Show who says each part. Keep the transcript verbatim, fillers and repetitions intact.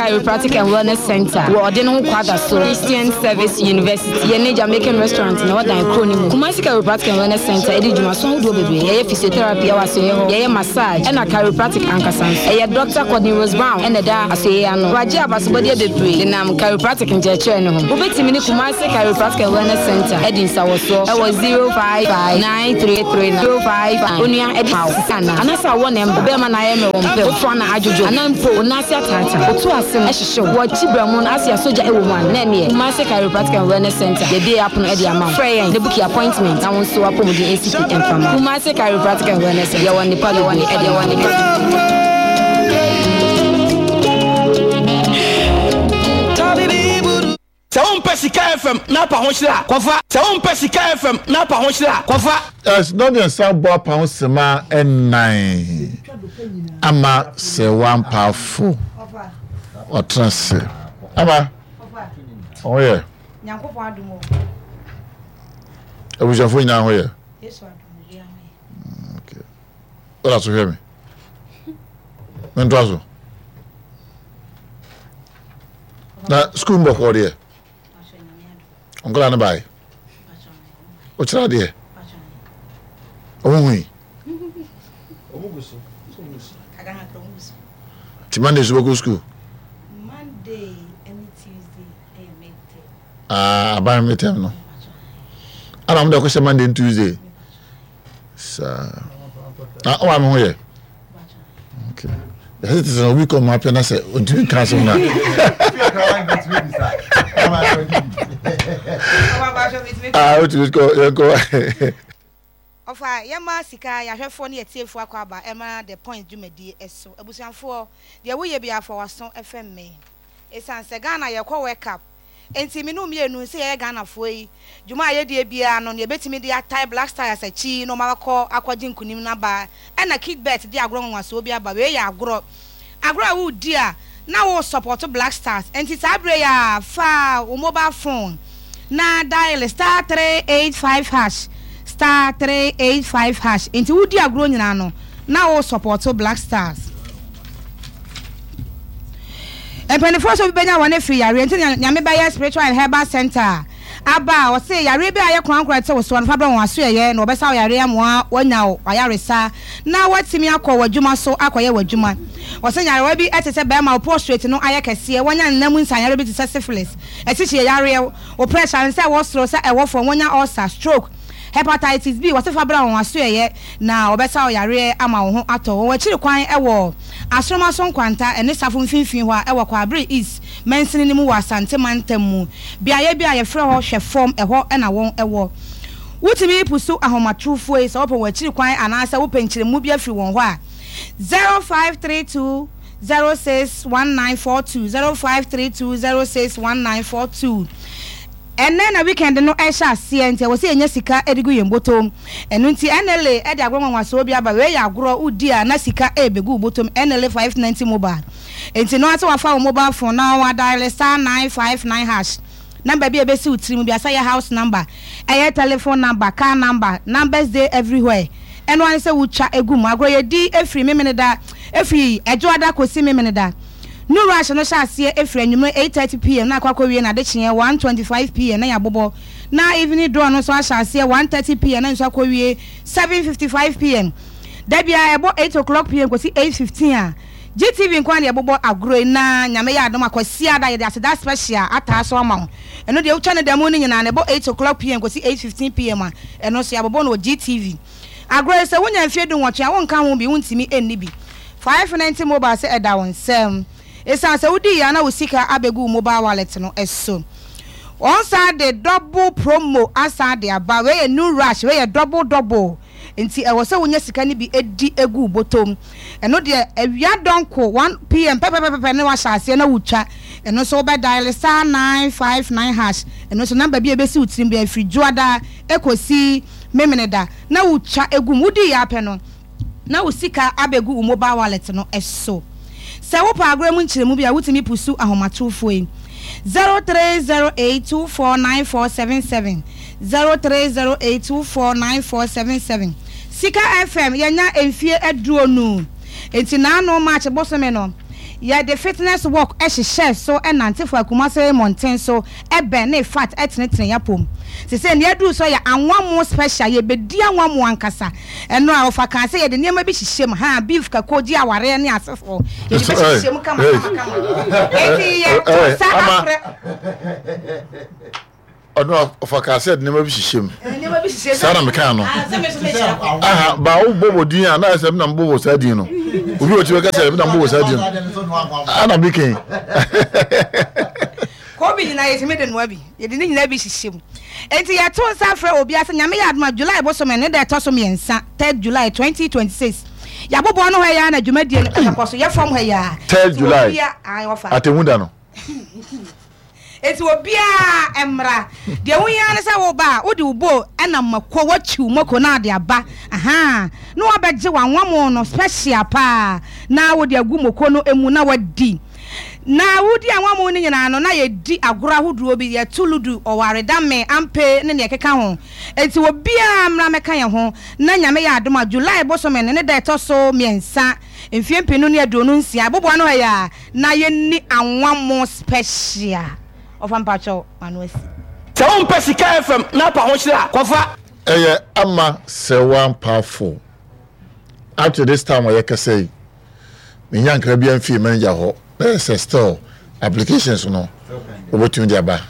Speaker 1: Chiropractic and Wellness Center wɔ ɔde ne ho kwada so Christian Service University yɛne Jamaican Restaurant na wɔdan kuro no mu. Kumasi Chiropractic and Wellness Center ɛde dwumaso ahodoɔ bebree. Yɛyɛ physiotherapy ɛwɔ asoeɛ hɔ, yɛyɛ massage ɛna chiropractic ankasa nso. Ɛyɛ Doctor Courtney Rose Brown ɛna ɛda asoeɛ ano. Wagye abasobɔdeɛ bebree denam chiropractic nkyerɛkyerɛ no ho. Wobɛtumi ne Kumasi Chiropractic and Wellness Center ɛdi nsawɔsoɔ ɛwɔ zero five five nine three three nine zero five five. Onua ɛde ma wo sisi anaa anaasɛ awɔ na ɛmba bɛrima na ayɛ mmerɛ wɔn pɛm wofoa na adwodwo anaa mpo wo nan ase ataata wotu ase no ɛhyehye wo wɔkyi brɛ mu no ase asogya ɛwɔ mu a na ɛneɛ Kumasi Chiropractic and Wellness Center yɛbie apono ɛde ama wo. Frɛ yɛn na book appointment na wo nso wapɔmuden nsi pi ɛmfa ma wo. Kumasi Chiropractic and Wellness Center, yɛwɔ nnepa bebree ɛde ma wo.
Speaker 2: Sɛ wompɛ Sika F M na apa ho hyerɛ a, kɔfa. Sɛ wompɛ Sika F M na apa ho hyerɛ a, kɔfa.
Speaker 3: Yes, nnɔmmiɛnsa bɔ apa ho sema nnan ama sɛ wampaafo ɔtena se ama ɔho yɛ abusuafo nyinaa ho yɛ. Wɔda so hwɛ me mentoa so na sukuu mbɔkɔɔ deɛ nkɔla no bae wokyerɛ adeɛ ɔmo hui nti Monday so bɛkɔ sukuu. Ah, aban midterm no ana ɔmo de akɔhyɛ Monday and Tuesday saa na ɔmo ame ho yɛ. Okay, yɛsɛ te sɛ obi kɔ ɔmo apɛ na sɛ ontumi nka asɛm na ah, otumi kɔ yɛn kɔ.
Speaker 4: Ɔfa yɛma sika yɛahwɛfoɔ ne yɛtiefoɔ akɔ aba ɛma The Point dwumadie ɛso. Abusuafoɔ deɛ woyɛ bi afa waso ɛfɛ mme ɛsiane sɛ Ghana yɛkɔ World Cup nti me no mmienu sɛ yɛyɛ Ghanafoɔ yi dwuma a yɛdie biara no ne yɛbɛtumi de atae Black Stars akyi na ɔma akɔ akɔgye nkunim no aba. Ɛna Kidbet de agorɔ nwanwasoɔ bi aba. Wei yɛ agorɔ agorɔ a wodi a na wo support Black Stars, nti saa berɛ yi a fa wo mobile phone na dial star three eight five hash, star three eight five hash. Nti wodi agorɔ nyinaa no na wo support Black Stars. Mpanimfoɔ nso bi bɛnya wɔn afiri yareɛ nti Nyame bɛyɛ Spiritual and Herbal Center aba a ɔse yareɛ bi a ayɛ korankora te wo soɔ no fa brɛ wɔn aso yɛyɛ na wɔbɛsa wo yareɛ amoa woanya wo ayaresa na woatumi akɔ w'adwuma so akɔyɛ w'adwuma. Wɔsɛ nyarewa bi te sɛ bɛrima wo prostate no ayɛ kɛseɛ, wɔnya nna mu nsanyare bi te sɛ syphilis, asikyire yareɛ, wo pressure no sɛ ɛwɔ soro sɛ ɛwɔ fam, wɔnya ulcer, stroke, hepatitis B. Wɔse fa brɛ wɔn aso yɛyɛ na wɔbɛsa wo yareɛ ama wo ho atɔ. Wɔn akyiri kwan ɛwɔ Asoroma so Nkwanta ɛne Safo mfimfini hɔ a ɛwɔ Kwaabere East mansini no mu wɔ Asante mantam mu, beaeɛ bi a yɛfrɛ hɔ Hwɛ Fam, ɛhɔ ɛna wɔn ɛwɔ. Wotumi pusu ahomatorofoɔ yi sɛ wopɛ wɔn akyiri kwan anaasɛ wopɛ nkyerɛmu bi afiri wɔn hɔ a, zero five three two zero six one nine four two, zero five three two zero six one nine four two. Ɛnɛ na weekend no ɛhyɛ aseɛ nti ɛwɔ sɛ yɛnya sika de gu yɛn bɔtɔm. Ɛno nti N L A ɛde agorɔ nwanwasoɔ bi aba. Wei yɛ agorɔ wodi a na sika ɛbɛgu wo bɔtɔm. N L A five ninety mobile nti no ase wafa wo mobile phone na wa dial star nine five nine hash. Number bi a ɛbɛsi wo tirim bi asa yɛ house number, ɛyɛ telephone number, car number, numbers dey everywhere. Ɛno ane sɛ wotwa egu mu. Agorɔ yɛdi efiri Memeneda, efiri Ɛdwoada kɔsi Memeneda. New rush no hyɛ aseɛ efiri anwummerɛ eight thirty p m na akɔ akɔwie na adekyeɛ one twenty-five p m na yɛabobɔ, na evening draw no nso ahyɛ aseɛ one thirty p m na nso akɔwie seven fifty-five p m. Dabia ɛbɔ eight o'clock p m kɔsi eight fifteen a G T V nkwa na yɛbobɔ agorɔ yi. Na Nyame yɛ adom akɔsi ada yɛde aseda special ataa so ama wo. Ɛno deɛ wotwa no da mu no nyinaa na ɛbɔ eight o'clock p m kɔsi eight fifteen p m a ɛno nso yɛabobɔ no wɔ G T V. Agorɔ yi sɛ wonya mfeɛ du nwɔtwe a wonka ho bi, wontumi ɛnni bi. five ninety mobile sɛ ɛda wo nsɛm ɛsiane sɛ wodi yɛ na wo sika abɛgu wo mobile wallet no ɛso. Wɔn san de double promo asan de aba. Wei yɛ new rush, wei yɛ double double nti ɛwɔ sɛ wonya sika no bi edi egu bɔtɔm. Ɛno deɛ awia dɔnko one p m pɛpɛpɛpɛ ne wahyɛ aseɛ na wotwa. Ɛno nso wobɛ dial star nine five nine hash. Ɛno nso number bi a ebesi wo tirim bi afiri Dwoada ekosi Memeneda na wotwa egu mu. Wodi yɛ apɛ no na wo sika abɛgu wo mobile wallet no ɛso. Sɛ wopɛ agorɔ mu nkyerɛmu bi a, wotumi pusu ahomatorofoɔ yi zero three zero eight two four nine four seven seven, zero three zero eight two four nine four seven seven. Sika F M yɛnya mfie aduonu nti naano March bosome no Yɛde fitness walk hyehyɛɛ so nante faa Kumase mmɔnten so bɛn ne fat tenetene yɛn apom. Sesei nea aduru so yɛ anwammo special, yɛbɛdi anwammo ankasa. Ɛno a ɔfa kaa sɛ yɛde nneɛma bi hyehyɛ mu, haa, beef, kako, gye awareɛ ne asefoɔ. Yɛde bɛhyehyɛ mu kama kama kama. Enti yɛto nsa afrɛ.
Speaker 3: Ɔno ɔfa kaa sɛ nneɛma bi hyehyɛ mu. Saa na mekaa no. Aha, ba wo bɔbɔ din a na ayɛ sɛ me na mebɔbɔ saa din no. Obi wɔ ti bɛka sɛ me na mebɔbɔ saa din no. Ana meken.
Speaker 4: Kobi nyinaa yɛtumi de noa bi. Yɛde ne nyinaa bi hyehyɛ mu. Enti yɛto nsa frɛ obiara sɛ Nyame yɛ adom a July bosome ne da ɛtɔ so mmiɛnsa, third July twenty twenty six, yɛaboboa no hɔ yi ara na dwumadie no ɛbɛkɔ so. Yɛ fam ha yi ara.
Speaker 3: Third July, atemmu da no.
Speaker 4: Enti obiara mmra. Deɛ wohia ara ne sɛ woba a, wode wo bowl nam mako, woakyiw mako na ade aba. Ahaa. Na woabɛgye w'anwammo no special paa na wode agu mako no mu na woadi. Na wodi anwammo no nyinaa no, na yɛdi agorɔ ahodoɔ bi, yɛto ludu, ɔware, dame, ampe ne deɛ ɛkeka ho. Enti obiara mmra mmɛka yɛn ho na Nyame yɛ adom a, July bosome no ne da ɛtɔ so mmiɛnsa, mfeɛ mpenu ne aduonu nsia, aboboa no ha yi ara, Na yɛnni anwammo special. Ɔfa mpakyɛw m'ano asi.
Speaker 2: Sɛ wompɛ Sika F M na apa ho hyerɛ a, kɔfa.
Speaker 3: Ɛyɛ ama sɛwa mpaafo. Up to this time a yɛkasa yi, menya nkra biara mfii manager hɔ na ɛyɛ sɛ still applications no wobɛtumi de aba.